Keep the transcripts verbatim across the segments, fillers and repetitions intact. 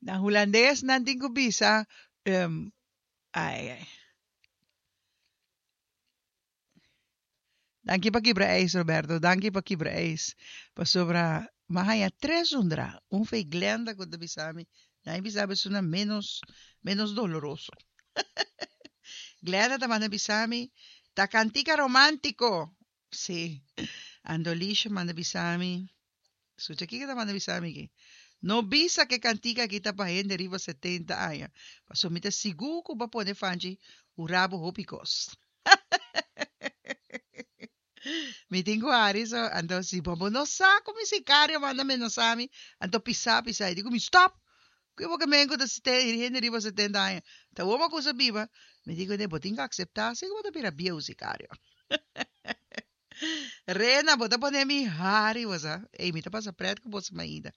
Na hulandes nan tin ku bisa, um, ai, ai. Danki pa kibra ijs, Roberto. Danki pa kibra ijs. Pasobra m'a haña tres zundra. Un fei Glenda ku ta bisa mi. Nan bisa mi esuna menos, menos doloroso. Glenda ta manda bisa mi, ta kantika romántiko. Sí. Andolisha manda bisa mi. Skucha kiko ta manda bisa mi aki. No bisa ku e kantika aki ta pa hende riba setenta aña. Pasobra mi ta sigur ku bo a pone fanchi hura bo hopi kos. Mi tin ku hari so, anto si bo bo no sa ku mi sikario manda menasá mi, anto pisá pisá. I di ku mi, Stòp! Ku bo ke men ku ta hende riba setenta aña? Ta wou bo kusa biba? Mi di kuné, bo tin ku akseptá si ku bo ta bira bieu, sikario. Rena, bo ta pone mi hari, bo sa. Ey, mi ta pasa pret ku boso mainda.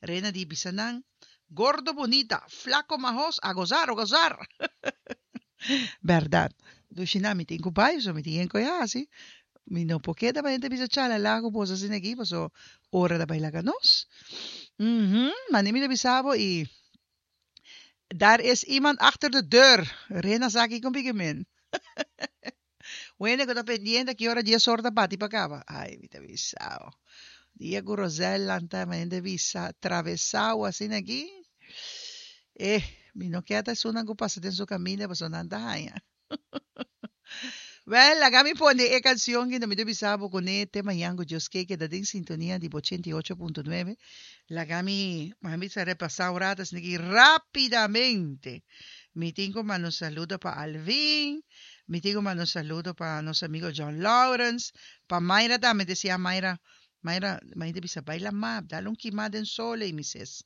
Rena di bisa nan, Gordo bonita, flaco mahos, a gozar, a gozar! Bèrdat. Dushi nan, mi tin ku bai, so mi tin yen koe hasi. Mi no por keda pa hende bisa chalala ku boso asina aki, paso ora ta bai laga nos. Mhm, mane mi ta bisa bo i daar is iemand achter de deur. Rena sa ki kon piki men. Wende ku ta pendiente ki ora dies or ta bati pa kaba. Ai, mi ta bisa bo. Dia ku Rosel lanta mi hende bisa travesao asina aki. Eh, mi no ke ta esunnan ku pasa den su kaminda pasobra nan ta haña. Wel, laga mi pone e kansion ki mi ta bisa bo kuné te mañan ku Dios ke keda den sintonia di bo ochenta i ocho punto nuebe. Laga mi, mi bisa repasá un rato asina aki rápidamente. Mi tin ku manda un saludo pa Alvin, mi tin ku manda un saludo pa nos amigo John Lawrence, pa Mayra tambe, desia Mayra, Mayra, Mayra ta bisa bai lamá, dal un kimá den sol ei, mi ses.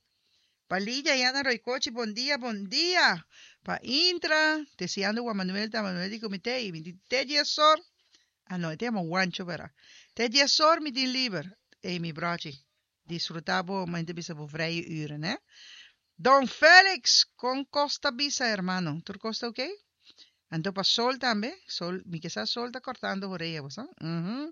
Pa Lidia Yana Roycochi, bon dia, bon dia. Pa Intra, deseando Juan Manuel ta Manuel di comité y mi di te dies or. Ah no, e te yama Juancho bera. Te dies or mi tin liber. Ey mi brochi, disfruta bo, ma ta bisa bo vrije uren, hè. Don Felix, con cos ta bisa, hermano? Tur cos ta okay? Anto pa Sol tambe, Sol, mi ke sa Sol ta cortando orea, bo sa? Mhm.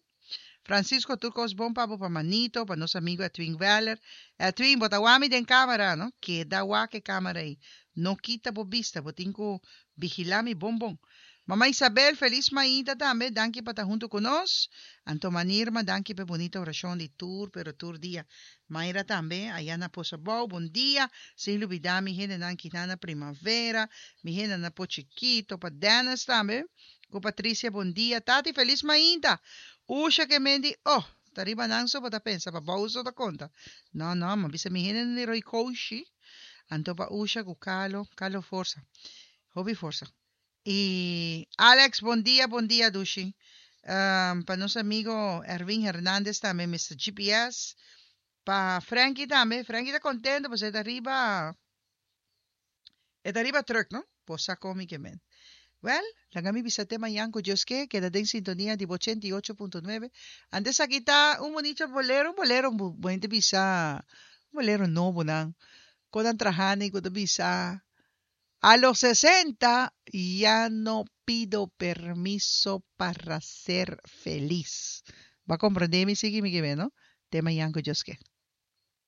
Francisco, tur cos bon pa bo, pa Manito, pa nos amigo Edwin Weller. Edwin, bo ta wak mi den camera, no? Keda wak e camera ei. No kita bo bista, bo tin ku vigilá mi bon bon. Mama Isabel, feliz mainta tambe. Danki pa ta hunto ku nos. Anto Manirma, danki pa e bunita orashon di tur, pero tur dia. Mayra tambe, aya na Posabou, bon dia. Sin lubidá mi hendenan Kinana Primavera, mi hendenan Po Chiquito, pa Dennis tambe. Ku Patricia, bon dia. Tati, feliz mainta. Usha ke men di, oh, ta riba nan so bo ta pensa, pa bou so ta konta. No, no, ma bisa mi hendenan di Roy Koushi. Anto pa Usha ku Carlo, Carlo forsa. Hopi forsa. I Alex, bon dia, bon dia, Dushi. Um, pa nos amigo Erwin Hernandez tambe, Mister G P S. Pa Frankie tambe. Frankie ta contento, pues e ta riba, e ta riba truck, no? Posa komi ke men. Well, laga mi bisa te mañan ku Dios ke, keda den sintonia di ochenta i ocho punto nuebe. Antes aki ta un bonito bolero, un bolero, bon bisa, un bolero nobo nan. Kodan trahani, ku ta bisa, a los sesenta ya no pido permiso para ser feliz. Bo a komprondé mi, sigui mi ke, no? Te mañan ku Dios ke.